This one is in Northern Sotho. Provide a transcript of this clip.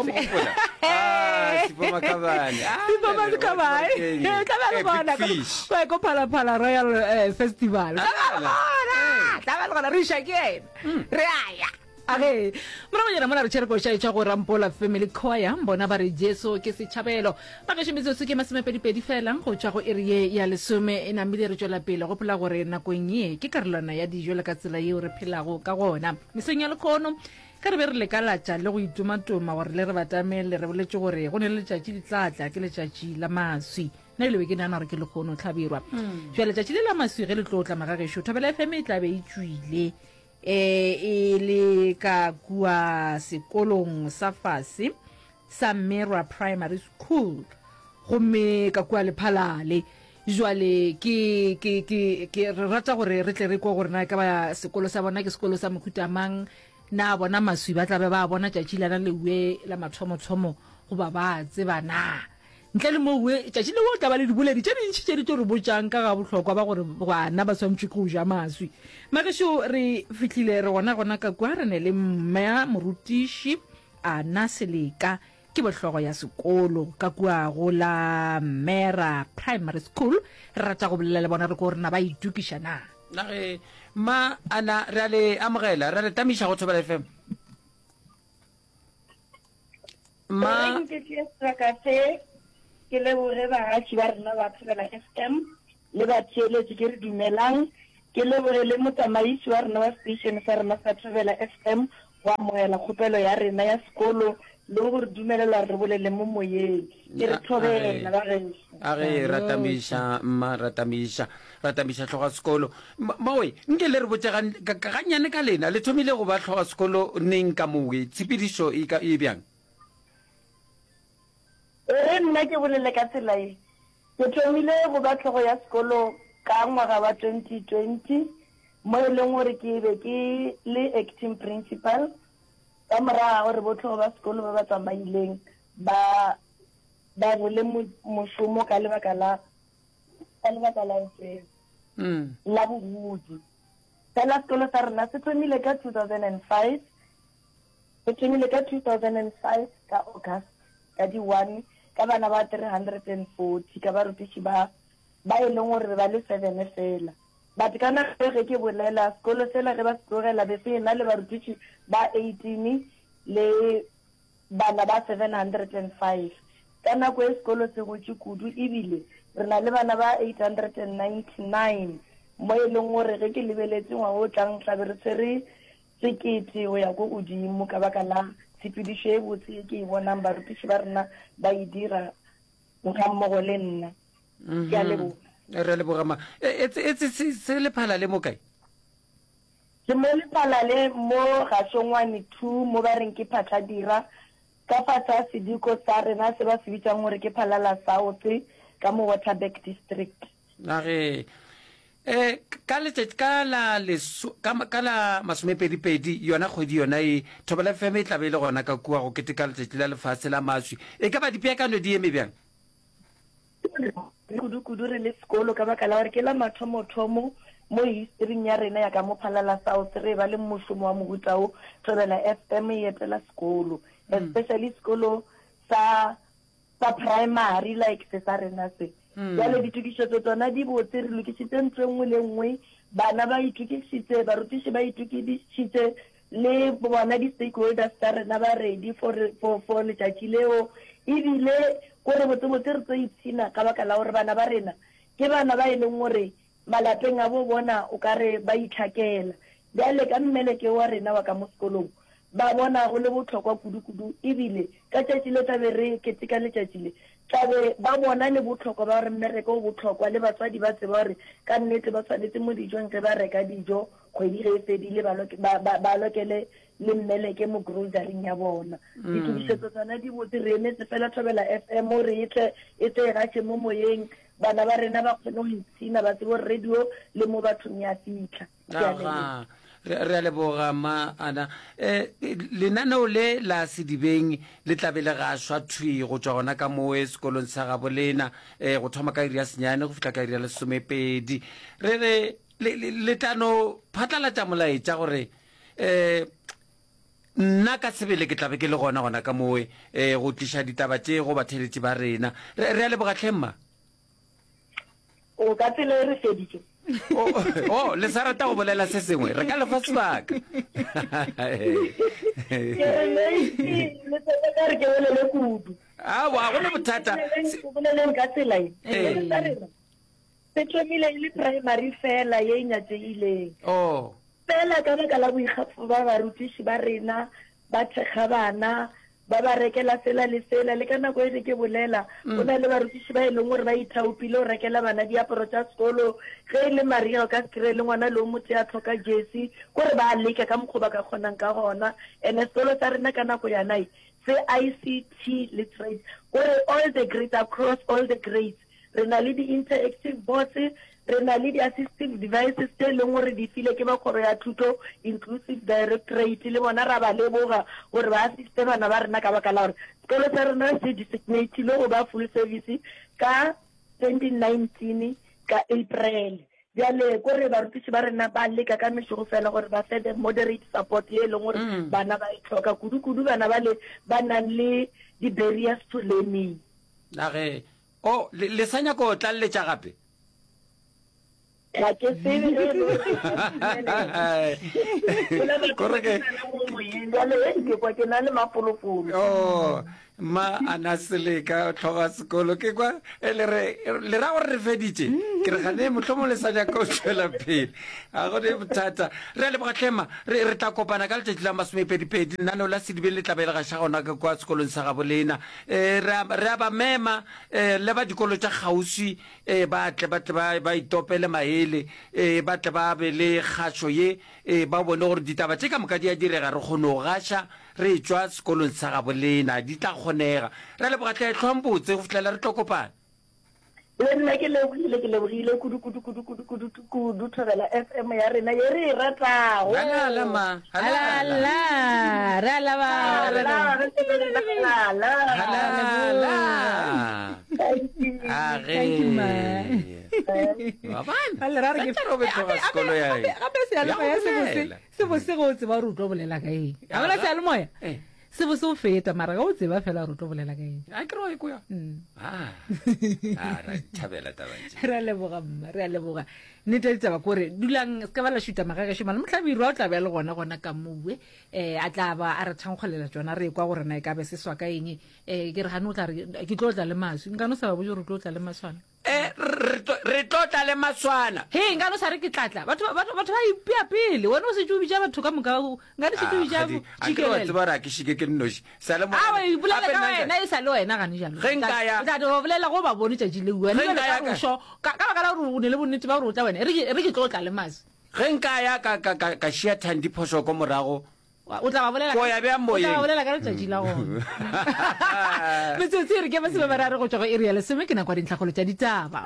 mogopola? Ah, Sipho Makhabane. Ah, Sipho le- le- Makhabane. wa Kenya. Eh, tla ba le Eh, gona Big Fish. ko ko Phalaphala Royal eh, Festival. Tla ba le Ah, gona. Tla ba le gona re iša ke yena. Re a ya. Age, moragonyana mola re tšhere koša e tšwa go Rampola Family Choir, bona ba re Jesu ke setšhabelo. Magešo metsotso ke masomepedipedi fela go tšwa go iri ye ya lesome e namile re tšwela pele. Gopola gore nakong ye ke karolwana ya dijo le ka tsela yeo re phelago ka gona. Mesong ya lekgono ge re be re lekalatša le go itomatoma gore le re batamele re boletše gore go ne le letšatši le tla tla ke letšatši la maswi. Nna ebile be ke nagana gore ke lekgono hlabirwa. Bjale letšatši le la maswi ge le tlo tla magagešo Thobela FM e tla be e tšwile. E, e le ka kua sekolong sa fase sa Merwa Primary School, gomme ka kua Lephalale. Jwale ke, ke, ke, ke, re rata gore re tle re kwe gore na e ka ba sekolo sa bona ke sekolo sa mohuta mang, na bona maswi ba tla be ba bona tšatši lana leue la mathomothomo goba ba tseba na. Ntle le moo, tšatši leo go tla ba le diboledi tše dintši tše di tlo re botšang ka ga bohlokwa ba gore bana ba swanetšwe ke go ja maswi. Magešo, re fihlile re gona gona ka kua, re ne le Mma Morutiši Anna Seleka, ke bohlogo ya sekolo ka kua go la Mera Primary School. Re rata go bolela le bona re ko gore na ba itokiša na. Na ge Mma Anna, re a le amogela, re a le tamiša go Thobela FM. Ma. Ke tšee sebaka se ke leboge bagaši ba rena ba Thobela FM le batheeletši ke re dumelang. Ke leboge le motsamaisi wa rena wa station sa rena sa Thobela FM go amogela kgopelo ya rena ya sekolo le go re dumelela gore re bolele mo moyeng. Ke re thobela ba gešo. A ge ratamiša mma ratamiša ratamiša hloga sekolo mawe nke le re botše gannyane ka lena le thomile go ba hloga sekolo neng ka mowe tshepedišo e ka e bjang? E re nna ke bolele ka tsela ye, ke thomile go ba hlogo ya sekolo ka ngwaga wa 2020 mo e leng gore ke be ke le acting principal ka morago ga gore bohlogo ba sekolo ba ba tsamaileng ba ba role mošomo ka lebaka la ka lebaka la ntweng la bogodi. Fela sekolo sa rena se thomile ka 2005, se thomile ka 2005 ka August ka di 1 ka bana ba 340 ka barutiši ba ba e leng gore be ba le seven fela. But ka nako e ge ke bolela sekolo sela ge ba se tlogela be se ena le barutiši ba 18 le bana ba 705. Ka nako e sekolo se gotše kudu ebile re na le bana ba 899 mo e leng gore ge ke lebeletše ngwaga o tlang tla be re tshwere sekete go ya ko godimo ka baka la tshepedišo e botse ye ke e bonang barutiši ba rena ba e dira gammogo le nna. Ke a leboga. Re a leboga ma. E, e, e, se, se lephala le mo kae? Ke mo Lephalale mo Gašongwane 2 mo ba reng ke Phatlhadira, ka fase ga sediko sa rena se ba se bitšang gore ke Phalala South ka mo Waterberg District. Na ge e, ka letšatši ka la leso, ka, ka la masomepedipedi yona kgwedi yona e, Thobela FM e tla be e le gona ka kua go keteka letšatši la lefase la maswi. E ka ba dipeakanyo di eme bjang? Kudu-kudu re le sekolo ka baka la gore ke la mathomothomo mo historing ya rena ya ka mo Phalala South re eba le mošomo wa mohuta wo, Thobela FM e etela sekolo, especially sekolo sa sa primary like se sa rena se. Bjale ditokišetšo tsona di botse, re lokišitše ntlo e nngwe le e nngwe, bana ba itokišitše, barutiši ba itokišitše, Le bona di stakeholders tša rena ba ready for, for, for letšatši leo. Ebile ko re botsebotse re tlo ipshina ka baka la gore bana ba rena ke bana ba e leng gore malapeng a bo bona o ka re ba itlhakela. Bjale ka mmeleke wa rena wa ka mo sekolong ba bona go le bohlokwa kudu-kudu ebile ka tšatši le tla be re keteka letšatši le tla be ba bona le bohlokwa ba gore mmereko o bohlokwa le batswadi ba tseba gore ka nnete ba swanetše mo dijong ge ba reka dijo Kgwedi ge e fedile ba, ba, ba, ba lokele le mmeleke mo groceryng ya bona. Ditokišetso tsona di botse, re emetse fela Thobela FM re e tle, e tle e gaše mo moyeng, bana ba rena ba kgone go ipshina, ba tsebe gore radio le mo bathong ya fihla. Ke a leboga. Aga, re, re a leboga ma Ana. Eh, lenaneo le la Sedibeng le tla be le gašwa thwi go tšwa gona ka mowe sekolong sa gabo lena, eh, go thoma ka iri ya senyane go fihla ka iri ya lesomepedi. Re re Le, le, le tla no phatlalatša molaetša gore um Nna ka sebele ke tla be ke le gona gona ka mowe um go tliša ditaba tše go batheeletši ba rena. Re, re a leboga hle mma. O ka tsela e re feditše. O, o, le sa rata go bolela se sengwe? Re ka le fa sebaka. Ke re Meisie, le se ka re ke bolele kudu. Aowa, ga go na bothata. Ke boleleng ka tsela ye. Sekolo sa rena se thomile e le primary fela ye e nyatšegileng. Oh. Fela ka baka la boikgafo ba barutiši ba rena, ba thekga bana, ba ba rekela sela le sela. Le ka nako e ge ke bolela, go na le barutiši ba e leng gore ba ithaopile go rekela bana diaparo tša sekolo. Ge e le mariga o ka se kry-e le ngwana le o motee a hloka jersey. Kore ba a leka ka mokgwa o ba ka kgonang ka gona. And-e sekolo sa rena ka nako yana e se ICT literate, kore all the grades, across all the grades. Re na le di-interactive boards, re na le di-assistive devices tše e leng gore di file ke ba Kgoro ya Thuto, Inclusive Directorate, le bona ra ba leboga gore ba assiste bana ba rena ka baka la gore sekolo sa rena se designatilwe go ba full service ka 2019 ka April. Bjale ko re barutiši ba rena ba leka ka mešogo fela gore ba fe the moderate support ye e leng gore bana ba e hloka, kudu-kudu bana bale ba nang le di-barriers to learning. Na ge O, le, le sa nyaka go tlaleletša gape? Ga ke tsebe ge e le gore ke tla dumelela. Kore ke. Bjale ge ke kwa ke na le mafolofolo. Oh, mma a na seleka tlhoga sekolo ke kwa e le re le ra gore re feditše ke re gane mohlomong le sa nyaka go tšwela pele ga go ne bothata re a leboga tlhema re re tla kopana ka letšatši la masomepedipedi lenaneo la sedibeng le tla be le gaša gona ka kwa sekolong sa gabo lena E, re a, re a ba mema, e, le ba dikolo tša kgauswi, e, ba tle, ba tle ba, ba itopele maele, e, ba tle ba be le kgašo ye, e, ba bone gore ditaba tše ka moka di a direga, re kgone go gaša re etšwa sekolong sa gabo lena, di tla kgonega. Re a leboga hle, hlwang botse go fihlela re tlo kopana. Le nna ke lebogile, ke lebogile kudu, kudu, kudu, kudu, kudu, kudu Thobela FM ya rena ye re e ratago. Halala ma, halala. Halala, re a laba. Halala, re halala. Halala. Thank you. A ge. Thank you, ma. Wa bona? Ba le ra re ke- Tla robe tloga sekolo ya Gape- gape seyalemoya Ya go se bose bolela. se bose ge o tseba gore o tlo bolela ka eng a bona seyalemoya Eh. Se bo se o feta mara ge o tseba fela gore o tlo bolela ka eng. A ke re wa e kwa. Mm. Ah. Ah, ra thabela taba tše. Re a leboga mma, re a leboga. Nnete ya ditaba kore dulang se ka ba la šuta magagešo mane mohlabirwa o tla be a le gona gona ka mowe eh a tla ba a re thankgolela tšona re kwa gore na e ka be se swa ka eng eh ke re gane o tla re ke tlo tla le maswi nka no sa ba botse gore o tlo tla le maswana Eh, re tlo- re tlo tla le maswana. Hei, nka no sa re ke tla tla. Batho ba- batho batho ba ipea pele. Wena o setse o bitša batho ka moka. o- Nka ne setse o Ah, bitša Kgadi, a ke re wa tšikelele. tseba gore a ke šike ke nnoši. Sa le A wa morena. ipolela Gape ka nna nka- wena e sa le wena gane jalo. Ge nka ya- O tla tlo bolela go ba bone tšatši leo. Wena Ge jwale nka ka ya ka- rošo, ka ka baka la gore o ne le bonnete ba gore o tla wena. E re ke e re ke tlo tla le maswi. Ge nka ya ka ka ka ka šia Thandi phošo ko morago. O tla ba bolela Ko ya bjang o tla ba moyeng? bolela ka letšatši la gona. Metsotso e re ke masome mararo go tšwa go iri ya lesome ke nako ya dintlhakgolo tša ditaba.